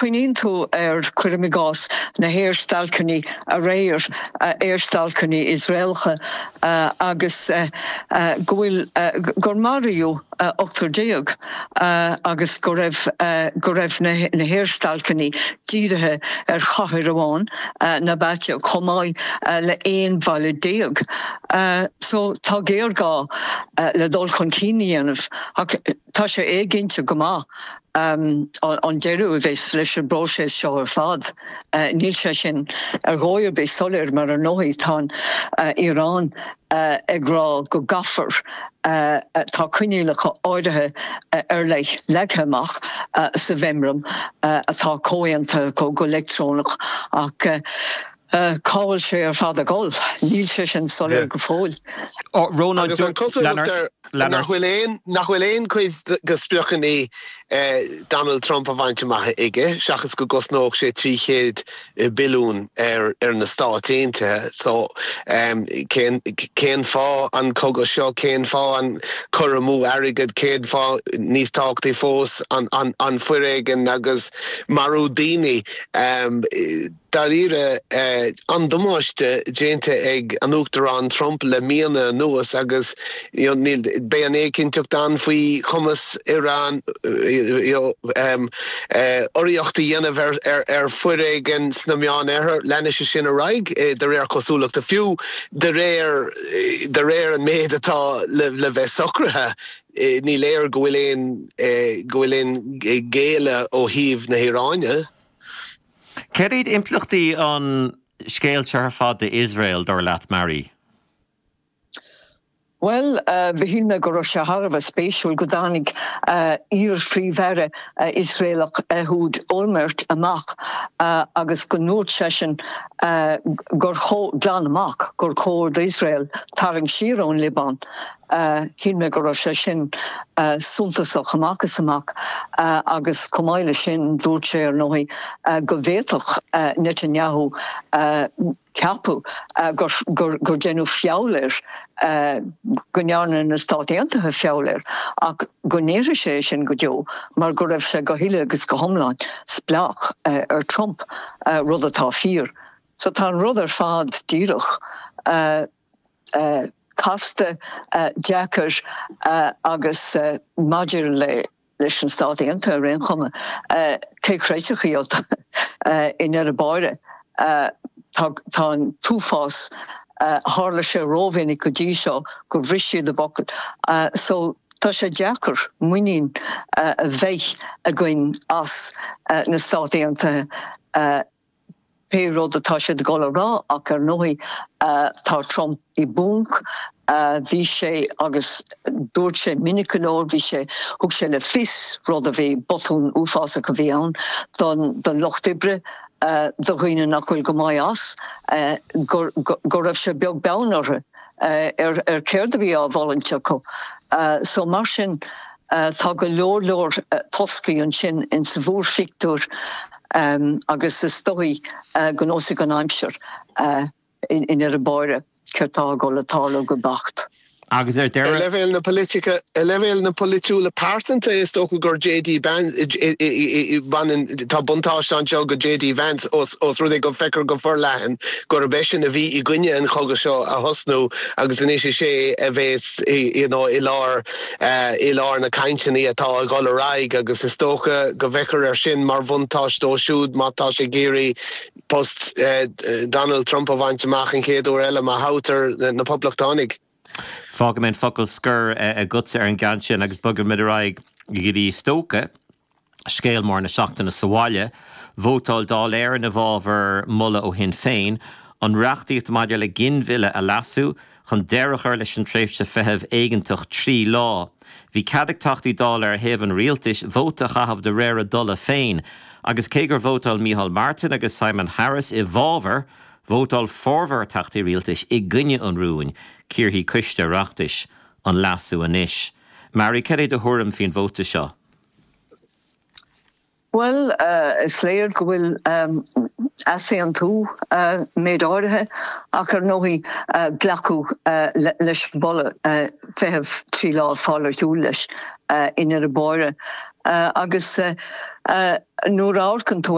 Cuimhníonn tú ar, cuirim i gcás, na haerstailceanna aréir, aerstailceanna Iosraelacha, agus go bhfuil, gur maraíodh 18 agus go raibh, go raibh na haerstailceanna dírithe ar chathair amháin, Nabatieh, chomh maith le 11 bhaile. So tá géarghá le dul chun cinn a dhéanamh ach tá sé éiginnte go maith. an deireadh a bheas leis an bpróiseas seo ar fad. Níl sé sin ar dhóigh ar bith soiléir mar ar ndóigh tá an Iaráin ag rá go gcaithfear, tá coinníollacha áirithe ar leith leagtha amach sa mheamram atá comhaontaithe acu go leictreonach ach Cá bhfuil sé ar fad ag dul? Níl sé sin soiléir go fóill. Rónán, Agus an cosúlacht air nach bhfuil aon, nach bhfuil aon chuid de spriocanna Donald Trump á bhaint amach aige, seachas go gcosnódh sé 300 billiún ar ar na Stáit Aontaithe. So, cén, cén fáth an cogadh seo, cén fáth an cur amú airgid, cén fáth, níos tábhachtaí fós, an, an, an foréigean agus marú daoine? Dáiríre, an-damáiste déanta ag an Uachtarán Trump le míonna anuas agus níl, beidh an éiginnteacht ann faoi chumas Iran urraíocht a dhéanamh ar foréigean sna Meánoirthear. Leanfaidh sé sin ar aghaidh de réir cosúlachta, fiú de réir de réir an méid atá le bheith socraithe. Ní léir go bhfuil aon go bhfuil aon ghéilleadh ó thaobh na hIaráine. Céard iad impleachtaí an scéil seo ar fad d'Iosrael, dar leat, Mary? Bhuel, shíl mé go raibh sé thar a bheith spéisiúil go dtáinig iar-phríomh-aire Iosraelach Ehud Olmert amach agus go ndúirt seisean gur chóir, glan amach, gur chóir d'Iosrael tarraingt siar ón Liobáin. Shíl mé go raibh sé sin suntasach amach is amach agus chomh maith leis sin dúirt sé ar ndóigh go bhféadfadh Netanyahu ceapadh gur deineadh feall air, go ndearna na Stáit Aontaithe feall air ach go ndéarfaidh sé é sin go deo mar go raibh sé go huile agus go hiomlán spleách ar Trump, rud atá fíor. So tá an rud ar fad díreach. casta, deacair agus maidir leis na Stáit Aontaithe ar aon chuma, cé chreidfeadh iad i ndeireadh báire? Tá an t-uafás, tharla sé rómhinic go dtí seo gur bhris siad a bhfocal. So tá sé deacair muinín a bheith againn as na Stáit Aontaithe. pé rud atá siad ag dul a rá ach ar ndóigh tá Trump i bponc, bhí sé agus dúirt sé minic go leor, bhí sé, thug sé le fios rud a bhí, botún uafásach a bhí ann don don lucht oibre, do dhaoine nach bhfuil go maith as, go go raibh sé beag beann orthu ar ar céard a bhí á bhfulaingt acu. So mar sin tá go leor leor toscaí ansin insa mhórphictiúr. Agus is dóigh go neosfaidh an aimsir i ndeireadh báire céard tá ag dul a tarlú go beacht. Agus ar Ar deireadh. leibhéal na politice, ar leibhéal na polaitiúla pearsanta, is dócha gur JD baineann, tá buntáiste anseo go JD Vance ós rud é go bhfeictear go forleathan gurb eisean a bhí i gcoinne an chogadh seo a thosnú agus anois is é a bheas you know i lár i lár na cainteanna atá ag dul ar aghaidh agus is dócha go bhfeictear air sin mar bhuntáiste dó siúd má tá sé ag iarraidh post Donald Trump a bhaint amach an chéad uair eile má thoghtar na Poblachtánaigh. Fágfaidh mé an focal scoir agatsa ar an gceann sin agus bogfaimid ar aghaidh go dtí is dócha. Scéal mór na seachtaine sa bhaile, vótáil Dáil Éireann i bhfabhar moladh ó Shinn Féin, an reachtaíocht maidir le ginmhilleadh a leasú, chun deireadh a chur leis an tréimhse feithimh éigeantach 3 lá. Bhí cead ag Teachtaí Dála ar thaobh an rialtais vóta a chaitheamh de réir a dtola féin, agus cé gur vótáil Micheál Martin agus Simon Harris i bhfabhar, vótáil formhór Teachtaí Rialtais i gcoinne an rúin. Cíorfaidh Coiste Oireachtais an leasú anois. Mary, cad é do thuairim faoin vóta seo? Bhuel, is léir go bhfuil easaontú méid áirithe ach ar ndóigh glacadh leis an mholadh feitheamh 3 lá fáil ar shiúl leis i ndeireadh báire. Agus nuair a amharcann tú.